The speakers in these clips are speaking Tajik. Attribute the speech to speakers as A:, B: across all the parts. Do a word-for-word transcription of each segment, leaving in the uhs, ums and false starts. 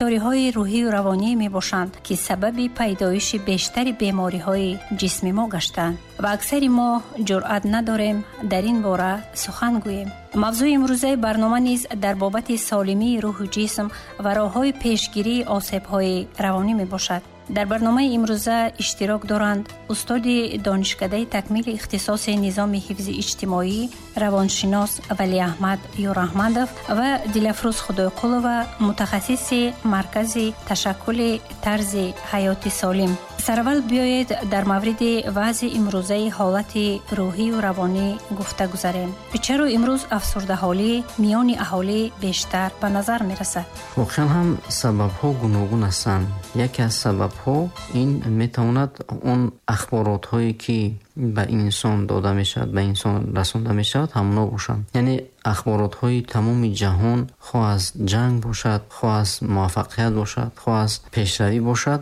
A: Гирифториҳои рӯҳию равонӣ мебошанд, ки сабаби пайдоиши бештари бемориҳои ҷисми мо гаштанд ва аксари мо ҷуръат надорем дар ин бора сухан гӯем. Мавзӯи имрӯзаи барнома низ дар бобати солимии рӯҳу ҷисм ва роҳҳои пешгирии осебҳои равонӣ мебошад. Дар барномаи имрӯза иштирок доранд устоди донишкадаи такмили ихтисоси низоми ҳифзи иҷтимоӣ, равоншинос Валиаҳмад Ёраҳмадов ва Дилафрӯз Худойқулова, мутахассиси маркази ташаккули тарзи ҳаёти солим. Сараввал биёед дар мавриди вазъи имрӯзаи ҳолати рӯҳию равонӣ гуфта гузарем. Чаро имрӯз афсурдаҳолӣ миёни аҳолӣ бештар ба назар мерасад?
B: Воқеан ҳам сабабҳо гуногун ҳастанд. Яке аз сабабҳо ин метавонад он ахборотҳое ки ба инсон дода мешавад, ба инсон расонда мешавад, ҳамоно бошанд. Яъне ахборотҳои тамоми ҷаҳон, хоҳ аз ҷанг бошад, хоҳ аз муваффақият бошад, хоҳ аз пешравӣ бошад,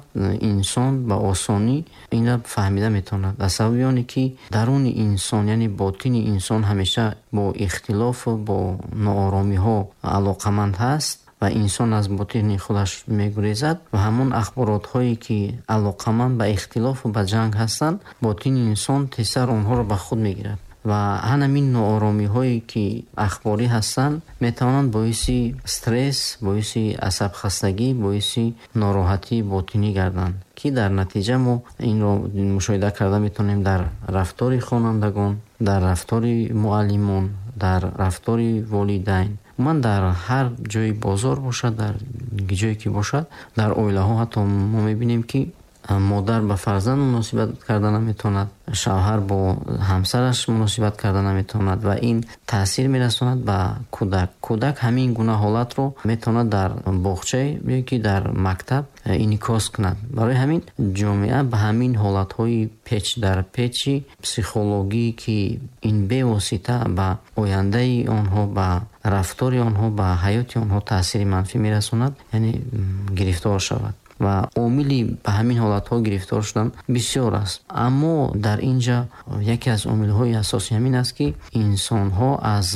B: инсон ба осонӣ инро фаҳмида метавонад. Аз сабаби оне ки даруни инсон, яъне ботини инсон ҳамеша бо ихтилофу бо нооромиҳо алоқаманд ҳаст ва инсон аз ботини худаш мегурезад ва ҳамон ахборотҳое ки алоқаманд ба ихтилофу ба ҷанг ҳастанд, ботини инсон тезтар онҳоро ба худ мегирад. Ва ҳамин нооромиҳое ки ахборӣ ҳастанд метавонанд боиси стресс, боиси асабхастагӣ, боиси нороҳатии ботинӣ гарданд, ки дар натиҷа мо инро мушоҳида карда метавонем дар рафтори хонандагон, дар рафтори муаллимон, дар рафтори волидайн. Умуман дар ҳар ҷои бозор бошад, дар ҷое ки бошад, дар оилаҳо ҳатто мо мебинем ки модар ба фарзанд муносибат карда наметавонад, шавҳар бо ҳамсараш муносибат карда наметавонад ва ин таъсир мерасонад ба кӯдак. Кӯдак ҳамин гуна ҳолатро метавонад дар боғча ё ки дар мактаб инъикос кунад. Барои ҳамин ҷомеа ба ҳамин ҳолатҳои печ дар печи психологӣ, ки ин бевосита ба ояндаи онҳо, ба рафтори онҳо, ба ҳаёти онҳо таъсири манфӣ мерасонад, яъне гирифтор шавад. Ва омили ба ҳамин ҳолатҳо гирифтор шудан бисёр аст. Аммо дар ин ҷо яке аз омилҳои асосӣ ҳамин аст, ки инсонҳо аз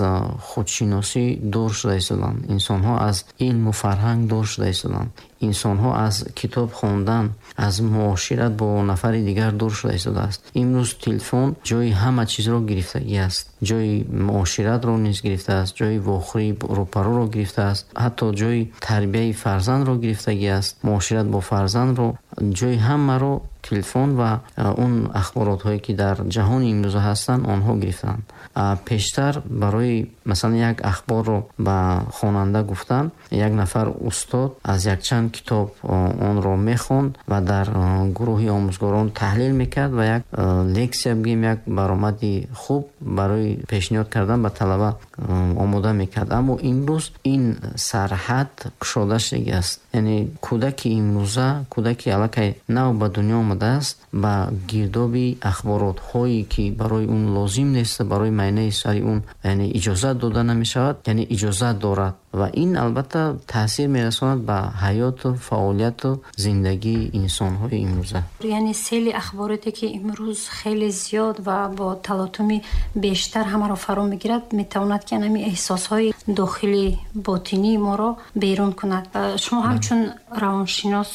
B: худшиносӣ дур шуда истоданд, инсонҳо аз илму фарҳанг дур шуда истоданд, инсонҳо аз китоб хондан, аз муошират бо нафари дигар дур шуда истодааст. Имрӯз телефон ҷои ҳама чизро гирифтагӣ аст, ҷои муоширатро низ гирифтааст, ҷои вохӯрии рӯпарӯро гирифтааст, ҳатто ҷои тарбияи фарзандро гирифтагӣ аст, муошират бо фарзандро, ҷои ҳамаро телефон ва он ахборотҳое ки дар ҷаҳони имрӯза ҳастанд, онҳо гирифтанд. Пештар барои масалан як ахборро ба хонанда гуфтан, як нафар устод аз якчанд китоб онро мехонд ва дар гурӯҳи омӯзгорон таҳлил мекард ва як лексия, бигем, як баромади хуб барои пешниҳод кардан ба талаба омода мекард. Аммо имрӯз ин сарҳад кушода шудагӣ аст. Яъне кӯдаки имрӯза, кӯдаки аллакай нав ба дунё омадааст, ба гирдоби ахборотҳое ки барои он лозим нест, барои майнаи сари он яъне иҷозат дода намешавад, яъне иҷозат дорад ва ин албатта таъсир мерасонад ба ҳаёту фаъолияту зиндагии инсонҳои имрӯза.
A: Яъне сели ахбороте ки имрӯз хеле зиёд ва бо талотуми бештар ҳамаро фаро мегирад, метавонад ки ҳамин эҳсосҳои дохили ботинии моро берун кунад. Шумо ҳамчун равоншинос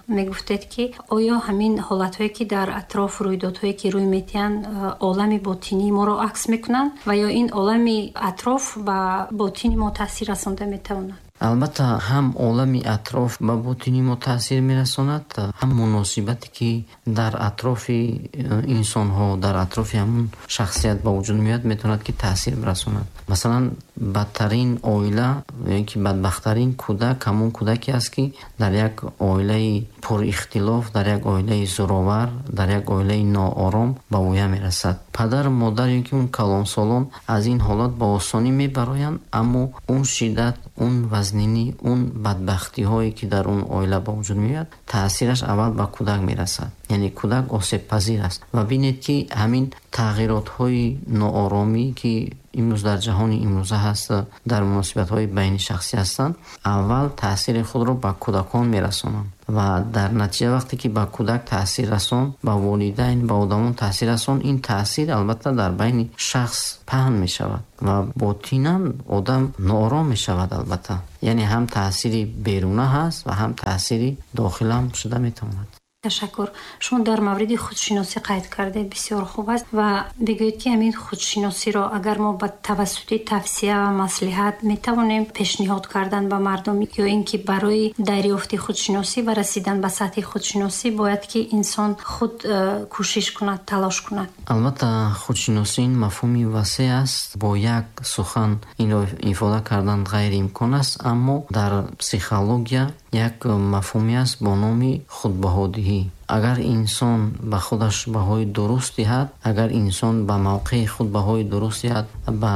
A: мегуфтед, ки оё ҳамин ҳолатҳое ки дар атроф, рӯйдодҳое ки рӯй метиҳанд, олами ботинии моро акс мекунанд ва ё ин олами атроф ба ботини мо таъсир расонда метавонад?
B: Албатта ҳам олами атроф ба ботини мо таъсир мерасонад, ҳам муносибате ки дар атрофи инсонҳо, дар атрофи ҳамон шахсият ба вуҷуд меояд, метавонад ки таъсир бирасонад. Масалан, бадтарин оила ё ки бадбахттарин кӯдак ҳамон кӯдаке аст, ки дар як оилаи пурихтилоф, дар як оилаи зӯровар, дар як оилаи ноором ба воя мерасад. Падару модар ё ки он калонсолон аз ин ҳолат ба осонӣ мебароянд, аммо он шиддат, он вазнинӣ, он бадбахтиҳое ки дар он оила ба вуҷуд меояд, таъсираш аввал ба кӯдак мерасад. Яъне кӯдак осебпазир аст. Ва бинед ки ҳамин тағйиротҳои нооромӣ ки имрӯз дар ҷаҳони имрӯза ҳаст, дар муносибатҳои байнишахсӣ ҳастанд, аввал таъсири худро ба кӯдакон мерасонанд ва дар натиҷа вақте ки ба кӯдак таъсир расон, ба волидайн, ба одамон таъсир расон, ин таъсир албатта дар байни шахс паҳн мешавад ва ботинан одам ноором мешавад. Албатта Яъне ҳам таъсири беруна ҳаст ва ҳам таъсири дохил ҳам шуда метавонад.
A: Ташаккур. Шумо дар мавриди худшиносӣ қайд кардед, бисёр хуб аст ва бигӯед ки ҳамин худшиносиро агар мо ба тавассути тавсия ва маслиҳат метавонем пешниҳод кардан ба мардум ё ин ки барои дарёфти худшиносӣ ва расидан ба сатҳи худшиносӣ бояд ки инсон худ э, кӯшиш кунад, талош кунад?
B: Албатта, худшиносӣ ин мафҳуми васеъ аст, бо як сухан инро ифода кардан ғайриимкон аст, аммо дар психология як мафҳуме аст бо номи худбаҳодиҳӣ. Агар инсон ба худаш баҳои дуруст диҳад, агар инсон ба мавқеи худ баҳои дуруст диҳад, ба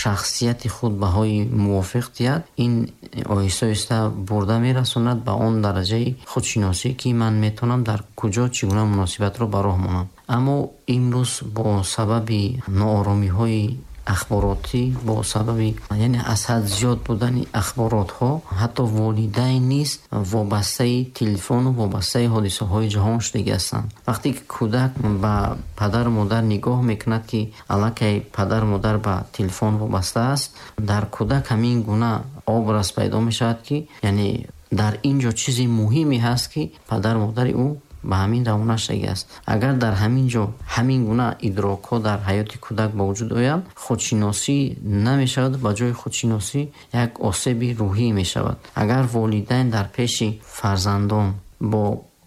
B: шахсияти худ баҳои мувофиқ диҳад, ин оҳиста оҳиста бурда мерасонад ба он дараҷаи худшиносӣ, ки ман метавонам дар куҷо чӣ гуна муносибатро ба роҳ монам. Аммо имрӯз бо сабаби нооромиҳои ахборотӣ, бо сабаби яъне аз ҳад зиёд будани ахборотҳо, ҳатто волидайн низ вобастаи телефону вобастаи ҳодисаҳои ҷаҳон шудагӣ ҳастанд. Вақте ки кӯдак ба падару модар нигоҳ мекунад, ки аллакай падару модар ба телефон вобаста аст, дар кӯдак ҳамин гуна образ пайдо мешавад, ки яъне дар ин ҷо чизи муҳиме ҳаст, ки падару модари ӯ ба ҳамин равона шудагӣ аст. Агар дар ҳамин ҷо ҳамин гуна идрокҳо дар ҳаёти кӯдак ба вуҷуд оянд, худшиносӣ намешавад, ба ҷои худшиносӣ як осеби рӯҳӣ мешавад. Агар волидайн дар пеши фарзандон бо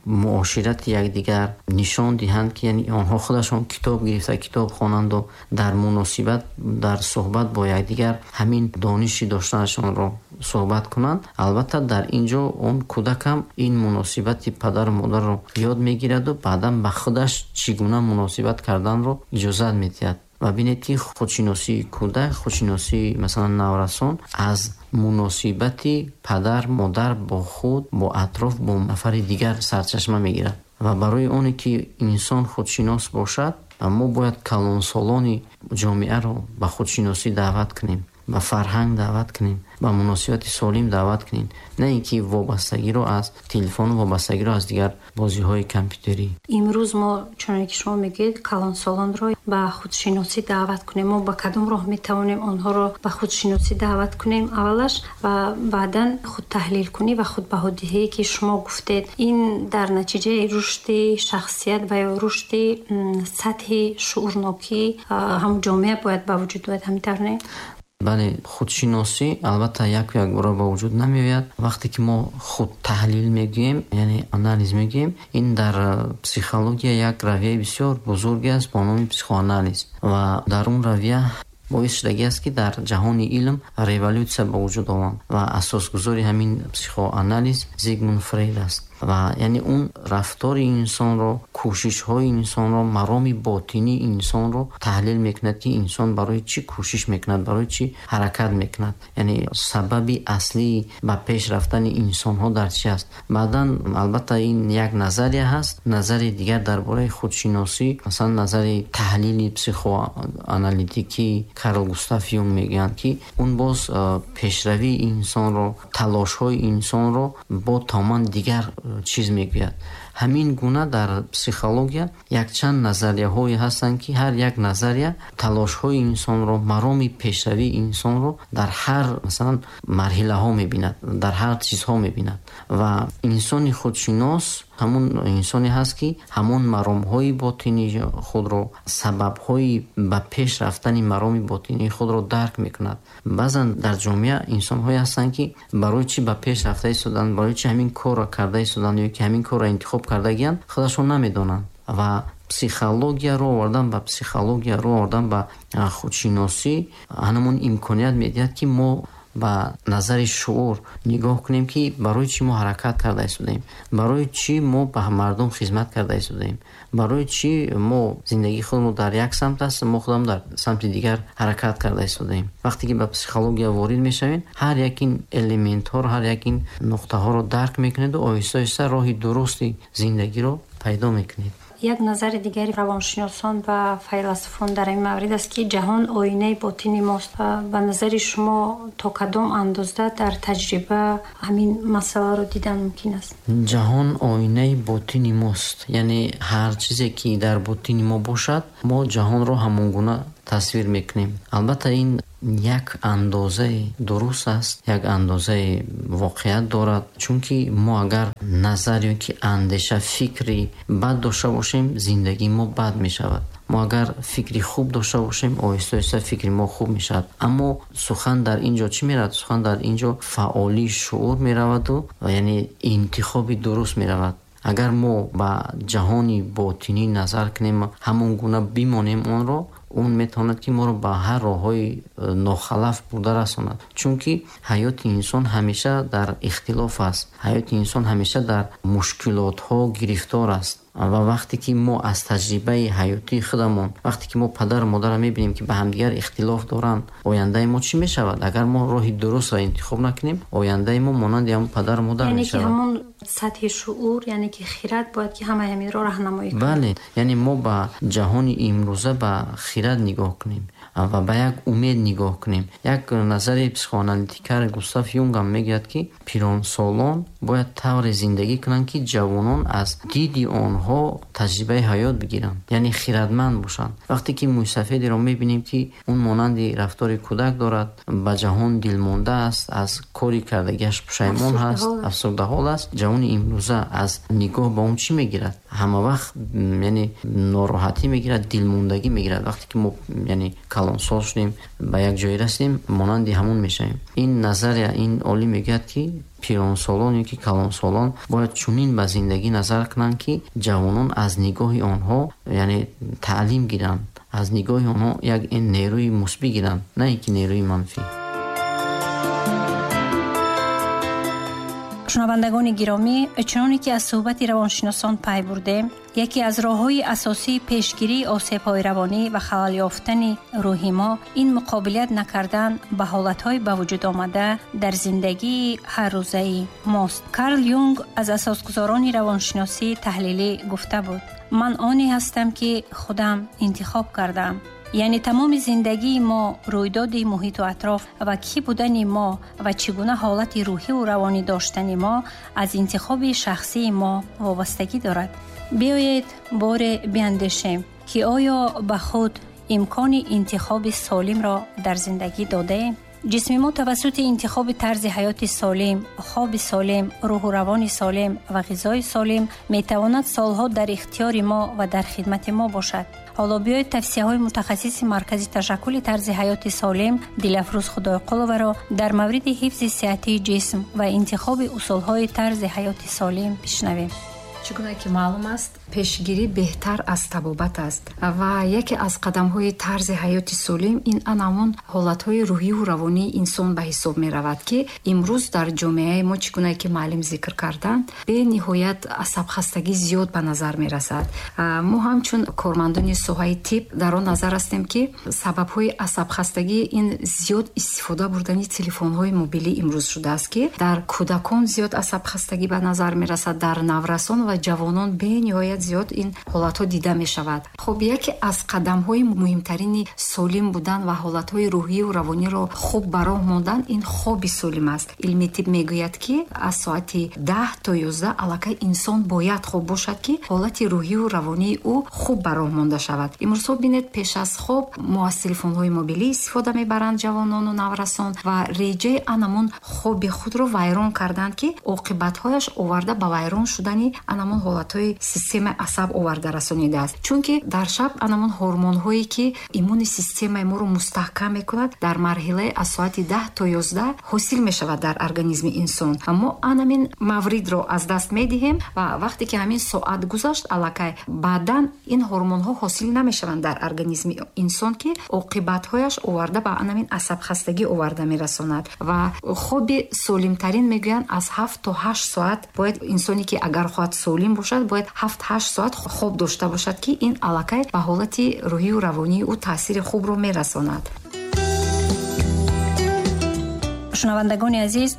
B: муоширати якдигар нишон диҳанд, ки яъне онҳо худашон китоб гирифта китоб хонанду дар муносибат, дар суҳбат бо якдигар ҳамин дониши доштанашонро суҳбат кунанд, албатта дар ин ҷо он кӯдакам ин муносибати падару модарро ёд мегираду баъдан ба худаш чӣ гуна муносибат карданро иҷозат медиҳад. Ва бинед, ки худшиносии кӯдак, худшиносии масалан наврасон аз муносибати падар модар бо худ, бо атроф, бо нафари дигар сарчашма мегирад. Ва барои оне ки инсон худшинос бошад, мо бояд калонсолони ҷомеаро ба худшиносӣ даъват кунем, ба фарҳанг даъват кунем, ба муносибати солим даъват кунем, на ин ки вобастагиро аз телефону вобастагиро аз дигар бозиҳои компютерӣ.
A: Имрӯз мо, чуноне ки шумо мегӯед, калонсолонро ба худшиносӣ даъват кунем. Мо ба кадом роҳ метавонем онҳоро ба худшиносӣ даъват кунем аввалаш ва баъдан худтаҳлилкунӣ ва худбаҳодиҳие ки шумо гуфтед, ин дар натиҷаи рушди шахсият ва ё рушди сатҳи шуурнокӣ ҳам ҷомеа бояд ба вуҷуд ояд, ҳамин тавр не?
B: Бале, худшиносӣ албатта яку якбора ба вуҷуд намеояд. Вақте ки мо худтаҳлил мегӯем, яъне анализ мегӯем, ин дар психология як равияи бисёр бузурге аст бо номи психоанализ. Ва дар он равия боис шудагӣ аст, ки дар ҷаҳони илм революсия ба вуҷуд омад ва асосгузори ҳамин психоанализ Зигмунд Фрейд аст. Ва яъне он рафтори инсонро, кӯшишҳои инсонро, мароми ботинии инсонро таҳлил мекунад, ки инсон барои чӣ кӯшиш мекунад, барои чӣ ҳаракат мекунад, яъне сабаби аслии ба пеш рафтани инсонҳо дар чӣ аст. Баъдан албатта ин як назария ҳаст, назари дигар дар бораи худшиносӣ, масалан назари таҳлили психоаналитикии Карл Густав Юнг мегӯянд, ки он боз пешравии инсонро, талошҳои инсонро бо тамоман дигар чиз мегӯяд. Ҳамин гуна дар психология якчанд назарияҳое ҳастанд, ки ҳар як назария талошҳои инсонро, мароми пешравии инсонро дар ҳар масалан марҳилаҳо мебинад, дар ҳар чизҳо мебинад. Ва инсони худшинос ҳамон инсоне ҳаст, ки ҳамон маромҳои ботинии худро, сабабҳои ба пеш рафтани мароми ботинии худро дарк мекунад. Баъзан дар ҷомеа инсонҳое ҳастанд, ки барои чӣ ба пеш рафта истоданд, барои чӣ ҳамин корро карда истоданд ё ки ҳамин корро интихоб кардагиянд, худашон намедонанд. Ва психологияро овардан ба психологияро овардан ба худшиносӣ ҳамон имконият медиҳад, ки мо ба назари шуур нигоҳ кунем, ки барои чӣ мо ҳаракат карда истодаем, барои чӣ мо ба мардум хизмат карда истодаем, барои чӣ мо зиндагии худмо дар як самт аст, мо худам дар самти дигар ҳаракат карда истодаем. Вақте ки ба психология ворид мешавем, ҳар як ин элементҳоро, ҳар як ин нуқтаҳоро дарк мекунеду оҳиста оҳиста роҳи дурусти зиндагиро пайдо мекунед.
A: Як назари дигари равоншиносон ва файласуфон дар ин маврид аст, ки ҷаҳон оинаи ботини мост. Ба назари шумо то кадом андоза дар таҷриба ҳамин масъаларо дидан мумкин аст?
B: Ҷаҳон оинаи ботини мост, яъне ҳар чизе ки дар ботини мо бошад, мо ҷаҳонро ҳамон гуна тасвир мекунем. Албатта ин як андозаи дуруст аст, як андозаи воқеият дорад, чунки мо агар назар ё ки андеша, фикри бад дошта бошем, зиндагии мо бад мешавад. Мо агар фикри хуб дошта бошем, оҳиста оҳиста фикри мо хуб мешавад. Аммо сухан дар ин ҷо чӣ меравад? Сухан дар ин ҷо фаъолии шуур мераваду яъне интихоби дуруст меравад. Агар мо ба ҷаҳони ботинӣ назар кунем, ҳамон гуна бимонем онро, он метавонад ки моро ба ҳар роҳҳои нохалаф бурда расонад. Чунки ҳаёти инсон ҳамеша дар ихтилоф аст, ҳаёти инсон ҳамеша дар мушкилотҳо гирифтор аст. Ва вақте ки мо аз таҷрибаи ҳаётии худамон, вақте ки мо падару модарро мебинем ки ба ҳамдигар ихтилоф доранд, ояндаи мо чӣ мешавад? Агар мо роҳи дурустро интихоб накунем, ояндаи мо монанди ҳамон падару модар мешавад.
A: Яъне ки ҳамон сатҳи шуур, яъне ки хирад бояд ки ҳамаи ҳаминро роҳнамоӣ кунад.
B: Бале, яъне мо ба ҷаҳони имрӯза ба хирад нигоҳ кунем ва ба як умед нигоҳ кунем. Як назари психоаналитикар Густав Юнг ҳам мегӯяд ки пиронсолон бояд тавре зиндагӣ кунанд ки ҷавонон аз диди онҳо таҷрибаи ҳаёт бигиранд, яъне хирадманд бошанд. Вақте ки мӯйсафедеро мебинем ки он монанди рафтори кӯдак дорад, ба ҷаҳон дилмонда аст, аз кори кардагиаш пушаймон ҳаст, афсурдаҳол аст, ҷавони имрӯза аз нигоҳ ба он чӣ мегирад? Ҳама вақт яъне нороҳатӣ мегирад, дилмондагӣ мегирад. Вақте ки мо яъне калонсол шудем, ба як ҷое расидем, монанди ҳамон мешавем. Ин назария, ин олим мегӯяд ки пиронсолон ё ки калонсолон бояд чунин ба зиндагӣ назар кунанд ки ҷавонон аз нигоҳи онҳо яъне таълим гиранд, аз нигоҳи онҳо як нерӯи мусбӣ гиранд, на ин ки нерӯи манфӣ.
A: Шунавандагони гиромӣ, чуноне ки аз суҳбати равоншиносон пай бурдем, яке аз роҳҳои асосии пешгирии осебҳои равонӣ ва халал ёфтани рӯҳи мо ин муқобилият накардан ба ҳолатҳои ба вуҷуд омада дар зиндагии ҳаррӯзаи мост. Карл Юнг аз асосгузорони равоншиносии таҳлилӣ гуфта буд: ман оне ҳастам ки худам интихоб кардам. Яъне тамоми зиндагии мо, рӯйдоди муҳиту атроф ва кӣ будани мо ва чӣ гуна ҳолати рӯҳиву равонӣ доштани мо аз интихоби шахсии мо вобастагӣ дорад. Биёед боре биандешем ки оё ба худ имкони интихоби солимро дар зиндагӣ додаем? Ҷисми мо тавассути интихоби тарзи ҳаёти солим, хоби солим, рӯҳу равони солим ва ғизои солим метавонад солҳо дар ихтиёри мо ва дар хидмати мо бошад. Ҳоло биёед тавсияҳои мутахассиси маркази ташаккули тарзи ҳаёти солим Дилафрӯз Худойқуловаро дар мавриди ҳифзи сиҳатии ҷисм ва интихоби усулҳои тарзи ҳаёти солим бишнавем.
C: Чӣ гуна ки маълум аст, пешгирӣ беҳтар аз табобат аст ва яке аз қадамҳои тарзи ҳаёти солим ин анамон ҳолатҳои рӯҳиву равонии инсон ба ҳисоб меравад, ки имрӯз дар ҷомеаи мо, чӣ гуна ки муаллим зикр карданд, бениҳоят асабхастагӣ зиёд ба назар мерасад. Мо ҳамчун кормандони соҳаи тиб дар он назар ҳастем, ки сабабҳои асабхастагӣ ин зиёд истифода бурдани телефонҳои мобилӣ имрӯз шудааст, ки дар кӯдакон зиёд асабхастагӣ ба назар мерасад, дар наврасон ва ҷавонон бениҳоят зиёд ин ҳолатҳо дида мешавад. Хуб, яке аз қадамҳои муҳимтарини солим будан ва ҳолатҳои рӯҳиву равониро хуб ба роҳ мондан ин хоби солим аст. Илми тиб мегӯяд, ки аз соати даҳ то ёздаҳ аллакай инсон бояд хоб бошад, ки ҳолати рӯҳиву равонии ӯ хуб ба роҳ монда шавад. Имрӯзҳо бинед, пеш аз хоб мо аз телефонҳои мобилӣ истифода мебаранд ҷавонону наврасон ва реҷаи анамон хоби худро вайрон карданд, ки оқибатҳояш оварда ба вайрон шудани анамон ҳолатҳои системаи асаб оварда расонидааст. Чунки дар шаб анамон ҳормонҳое ки иммуни системаи моро мустаҳкам мекунад, дар марҳилаи аз соати даҳ то ёздаҳ ҳосил мешавад дар организми инсон. Мо анамин мавридро аз даст медиҳем ва вақте ки ҳамин соат гузашт, аллакай баъдан ин ҳормонҳо ҳосил намешаванд дар организми инсон, ки оқибатҳояш оварда ба анамин асабхастагӣ оварда мерасонад. Ва хоби солимтарин мегӯянд аз ҳафт то ҳашт соат бояд инсоне ки агар хоҳад солим бошад, бояд ҳафт-ҳашт соат хоб дошта бошад, ки ин аллакай ба ҳолати рӯҳию равонии ӯ таъсири хубро мерасонад.
A: Шунавандагони азиз,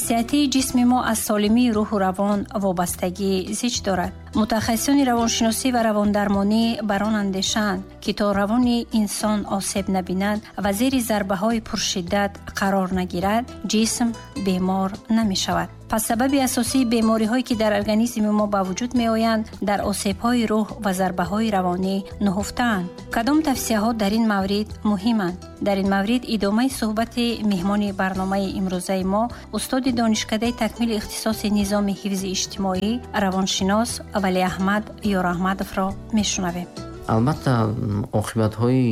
A: сиҳатии ҷисми мо аз солимии рӯҳу равон вобастагии зич дорад. Мутахассисони равоншиносӣ ва равондармонӣ бар он андешаанд, ки то равони инсон осеб набинад ва зери зарбаҳои пуршиддат қарор нагирад, ҷисм бемор намешавад. Пас сабаби асосии бемориҳое ки дар организми мо ба вуҷуд меоянд, дар осебҳои рӯҳ ва зарбаҳои равонӣ нуҳуфтаанд. Кадом тавсияҳо дар ин маврид муҳиманд? Дар ин маврид идомаи суҳбати меҳмони барномаи имрӯзаи мо, устоди донишкадаи такмили ихтисоси низоми ҳифзи иҷтимоӣ, равоншинос Валиаҳмад Ёраҳмадовро мешунавем.
B: Албатта, оқибатҳои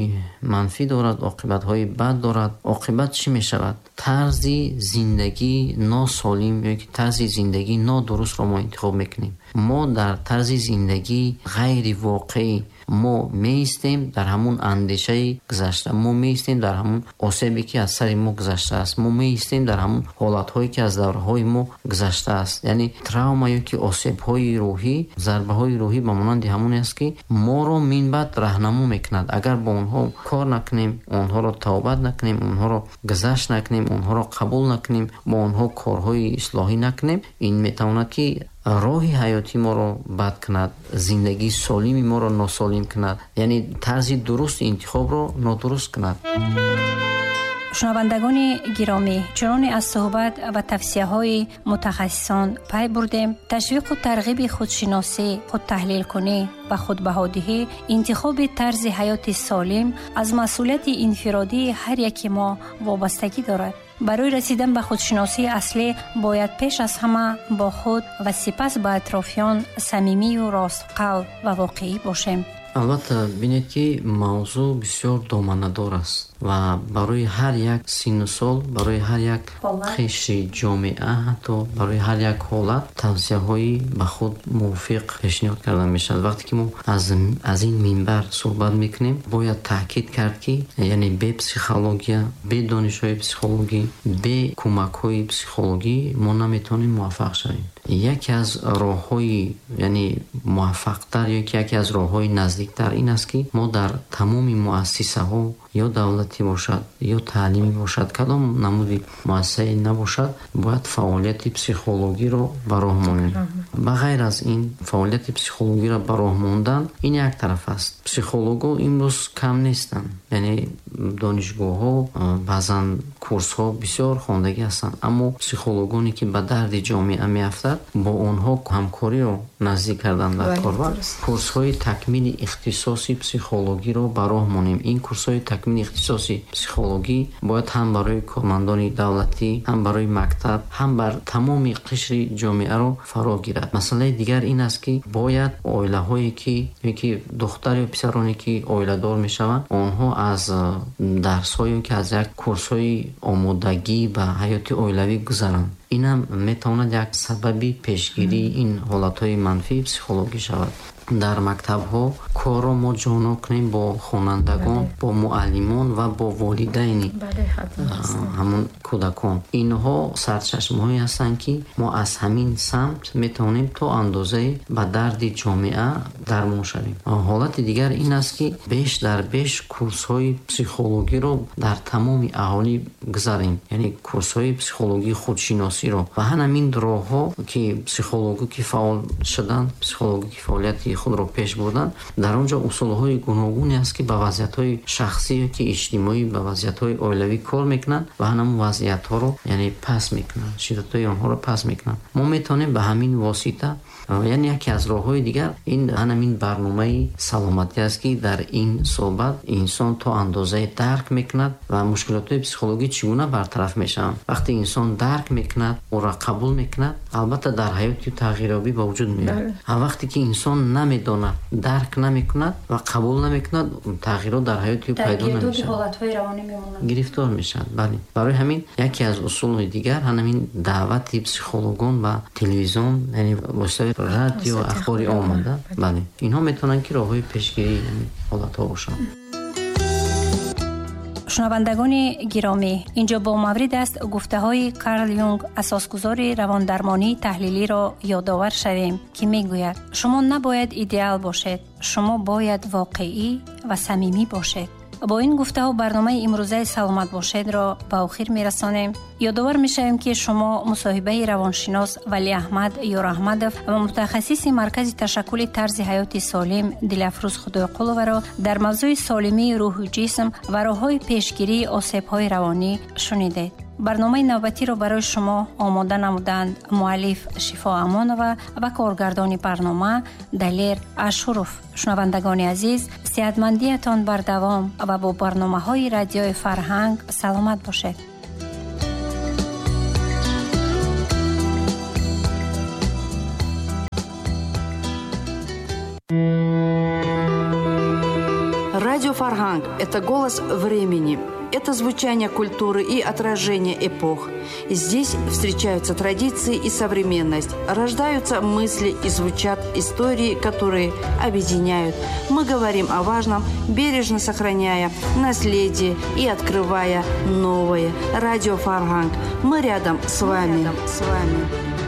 B: манфӣ дорад, оқибатҳои бад дорад. Оқибат чӣ мешавад? Тарзи зиндагии носолим ё ки тарзи зиндагии нодурустро мо интихоб мекунем. Мо дар тарзи зиндагии ғайривоқеӣ мо меистем дар ҳамун андешаи гузашта, мо меистем дар ҳамун осебе ки аз сари мо гузаштааст, мо меистем дар ҳамун ҳолатҳое ки аз давраҳои мо гузаштааст. Яъне травма ё ки осебҳои рӯҳӣ, зарбаҳои рӯҳӣ ба монанди ҳамоне аст ки моро минбаъд раҳнамо мекунад. Агар бо онҳо кор накунем, онҳоро тавбат накунем, онҳоро гузашт накунем, онҳоро қабул накунем, бо онҳо корҳои ислоҳӣ накунем, ин метавонад ки роҳи ҳаёти моро бад кунад, зиндагии солими моро носолим кунад, яъне тарзи дурусти интихобро нодуруст кунад.
A: Шунавандагони гиромӣ, чуноне аз суҳбат ва тавсияҳои мутахассисон пай бурдем, ташвиқу тарғиби худшиносӣ, худтаҳлилкунӣ ва худбаҳодиҳӣ, интихоби тарзи ҳаёти солим аз масъулияти инфиродии ҳар яки мо вобастагӣ дорад. Барои расидан ба худшиносии аслӣ бояд пеш аз ҳама бо худ ва сипас ба атрофиён самимию ростқалб ва воқеӣ бошем.
B: Албатта, бинед ки мавзӯъ бисёр доманадор аст ва барои ҳар як синну сол, барои ҳар як қишри ҷомеа, ҳатто барои ҳар як ҳолат тавсияҳои ба худ мувофиқ пешниҳод карда мешавад. Вақте ки мо аз, аз ин минбар суҳбат мекунем, бояд таъкид кард ки яъне бе психология, бе донишҳои психологӣ, бе кӯмакҳои психологӣ мо наметавонем муваффақ шавем. Яке аз роҳҳои яъне муваффақтар ё ки яке аз роҳҳои наздиктар ин аст ки мо дар тамоми муассисаҳо, ё давлатӣ бошад, ё таълимӣ бошад, кадом намуди муассисае набошад, бояд фаъолияти психологиро ба роҳ монем. Ба ғайр аз ин, фаъолияти психологиро ба роҳ мондан ин як тараф аст. Психологҳо имрӯз кам нестанд, яъне донишгоҳҳо, баъзан курсҳо бисёр хондагӣ ҳастанд, аммо психологоне ки ба дарди ҷомеа меафтад, бо онҳо ҳамкориро наздик кардан дар кор ва курсҳои такмили ихтисоси психологиро ба роҳ монем. Ин курсҳои такмили ихтисоси психологӣ бояд ҳам барои кормандони давлатӣ, ҳам барои мактаб, ҳам бар тамоми қишри ҷомеаро фаро гирад. Масъалаи дигар ин аст ки бояд оилаҳое ки ё ки духтар ё писароне ки оиладор мешаванд, онҳо аз дарсҳо ё ки аз як курсҳои омодагӣ ба ҳаёти оилавӣ гузаранд. Инам метавонад як сабаби пешгирии ин ҳолатҳои манфии психологӣ шавад. Дар мактабҳо корро мо ҷоноб кунем бо хонандагон, бо муаллимон ва бо волидайни ҳамон кӯдакон. Инҳо сарчашмаҳое ҳастанд ки мо аз ҳамин самт метавонем то андозае ба дарди ҷомеа дармон шавем. Ҳолати дигар ин аст ки беш дар беш курсҳои психологиро дар тамоми аҳолӣ гузарем, яъне курсҳои психологии худшиносиро. Ва ҳамин роҳҳо ки психологӣ ки фаъол шуданд, психологӣ ки фаъолияти худро пеш бурданд, дар он ҷо усулҳои гуногуне аст ки ба вазъиятҳои шахсӣ ё ки иҷтимоӣ, ба вазъиятҳои оилавӣ кор мекунанд ва ҳамон вазъиятҳоро яъне пас мекунанд, шиддатҳои онҳоро пас мекунанд. Мо метавонем ба ҳамин восита, яъне яке аз роҳҳои дигар ин ҳамин барномаи саломатӣ аст ки дар ин суҳбат инсон то андозае дарк мекунад ва мушкилотҳои психологӣ чӣ гуна бартараф мешаванд. Вақте инсон дарк мекунад, ӯро қабул мекунад, албатта дар ҳаёти тағйирёбӣ ба вуҷуд меояд. Ва вақте ки инсон намедонад, дарк намекунад ва қабул намекунад, тағйирот дар ҳаёти ӯ пайдо намешавад, гирифтор мешавад. Бале, барои ҳамин яке аз усулҳои дигар ҳамин даъвати психологон ба телевизион, яъне воситаи радио, ахбори омада. Бале, инҳо метавонанд ки роҳҳои пешгирии ҳолатҳо бошанд.
A: Шунавандагони гиромӣ, инҷо бо маврид аст гуфтаҳои Карл Юнг, асосгузори равондармонии таҳлилиро ёдовар шавем, ки мегӯяд: шумо набояд идеал бошед, шумо бояд воқеӣ ва самимӣ бошед. Бо ин гуфтаҳо барномаи имрӯзаи «Саломат бошед»-ро ба охир мерасонем. Ёдовар мешавем, ки шумо мусоҳибаи равоншинос Валиаҳмад Ёраҳмадов ва мутахассиси Маркази ташаккули тарзи ҳаёти солим Дилафрӯз Худойқуловаро дар мавзӯи солимии рӯҳу ҷисм ва роҳҳои пешгирии осебҳои равонӣ шунидед. Барномаи навбатиро барои шумо омода намуданд муаллиф Шифо Амонова ва коргардони барнома Далер Ашуров. Шунавандагони азиз, сеҳатмандиятон бардавом ва бо барномаҳои Радиои Фарҳанг саломат бошед.
D: Радио Фарханг – это голос времени. Это звучание культуры и отражение эпох. Здесь встречаются традиции и современность, рождаются мысли и звучат истории, которые объединяют. Мы говорим о важном, бережно сохраняя наследие и открывая новое. Радио Фарханг. Мы рядом с вами. Мы рядом с вами.